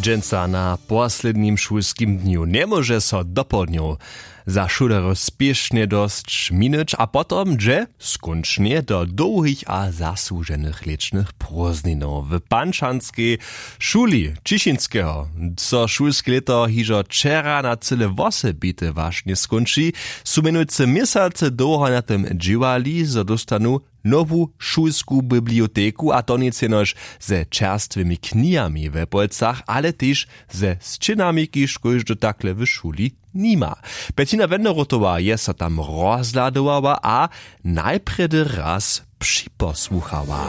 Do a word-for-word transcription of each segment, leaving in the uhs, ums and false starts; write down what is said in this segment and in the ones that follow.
Dźensa na poslednim šulskim dnju njemóže so dopołdnjow za šulerjow spěšnje dosć minić a potom dźe skónčnje do dołhich a zasłuženych lěćnych prózdninow. W pančanskej šuli Ćišinskeho so šulske lěto hižo wčera na cyle wosebite wašnje skónči. Su mjenujcy měsace dołho na tym dźěłali, zo dóstanu nowu šulsku biblioteku, a to nic jenož ze čerstwymi knihami we polcach, ale tež ze sćěnami, kiž kóždy takle w šuli nima. Bettina Wenderotowa je so tam rozhladowała a najprjedy raz připosłuchała.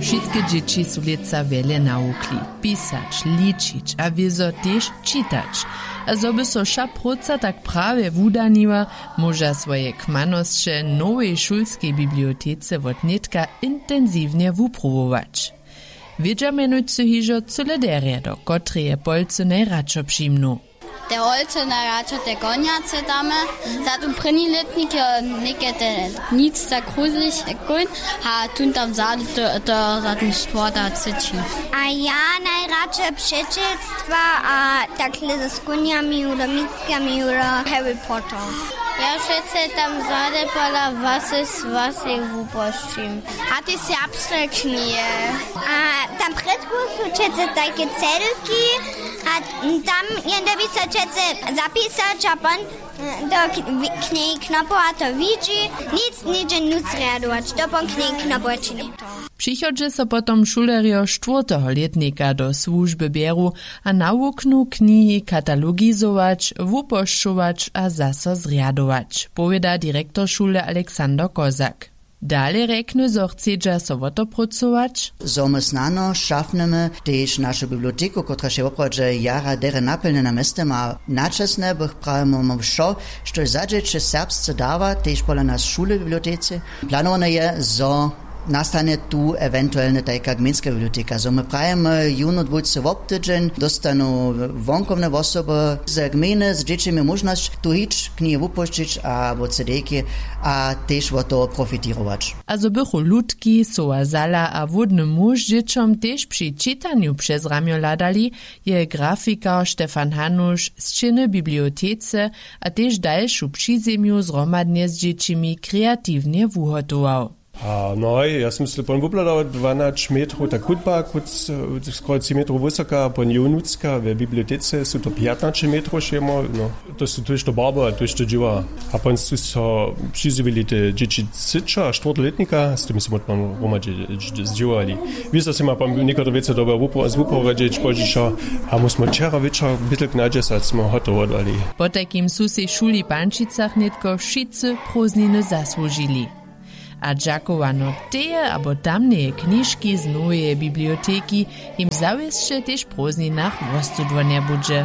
Wšitke dźěći su lětsa wjele nawukli, pisać, ličić a wězo tež čitać. A zo by so wša próca tak prawje wudaniła, móža swoje kmanosće w nowej šulskej bibliotece wotnětka intensiwnje wupruwować. Wědźa mjenujcy hižo cyle derje, do kotreje polcy najradšo přimnu. Te holcy najradšo te konjace damy. Za ten prěni lětnik jo něke te nic tak kruzlich kóń. A tón tam zady to, to za ten sporta cyći. A ja najradšo přećelstwa a takle z kónjami udo mitkami udo Harry Potter. Ja přece tam zady pola wasy swasy wupošćim. A te serbsce knihe. A tam předku su přece tajke celki a tam jende wisa přece zapisać a pon do knihi knopowa to widźi. Nic něhdźe nutř rjadować to pon knihi knopowa čini. Přichodźe so potom šulerjo štwórteho lětnika do słužby bjeru a nawuknu knihi katalogizować, wupošćować a zaso zrjadować, powěda direktor šule alexander kozak. Dale rjekny zo chcedźa so wotoprócować. Zo my snano šafnymy tež našu biblioteku kotraž je woprawdźe jara derje napjelnjena mjeztym a načesne bych prawimy wšo, štož za dźěće serbsce dawa tež pola nas šule w bibliotece. Planowane je zo nastanje tu ewentuelne tajka gmejnska biblioteka zo my prawimy jónu dwójce wobtydźeń dóstanu wonkowne wosoby ze gmejny z dźěćimi móžnosć tu hić knihi wupošćić abo cdejki a tež wot toho profitirować. A zo bychu lutki soła zala a hłódny muž dźěćom tež při čitanju přez ramjo hladali, je grafikar stefan hanuš sćěny w bibliotece a tež dalšu přizemju zhromadnje z dźěćimi kreatiwnje wuhotował. A no hoj ja sym se pon wubladał dwanać metrow ta kutba kóc skoro tři metrow wysoka pon jow nutřka we bibliotece su to pjatnaće metrow šejmo no. To su tójšto barbow a tójšto dźěła. A pon su so přizjewili te dźěći třećeho a štwórteho lětnika z tym su mótno hromadźe zdźěłali. Wězo sym a pon někotry wěcy dobył z wuporedźeć pozdźišo. A móž smy wčera wječor bytlk na dźesać smy hotowo dali. Potajkim su sej w šuli w pančicach nětko wšitcy prózdniny zasłužili. A dźakowano teje abo tamneje knižki z noweje biblioteki jim zawěsće tež w prózdninach wostudło njebudźe.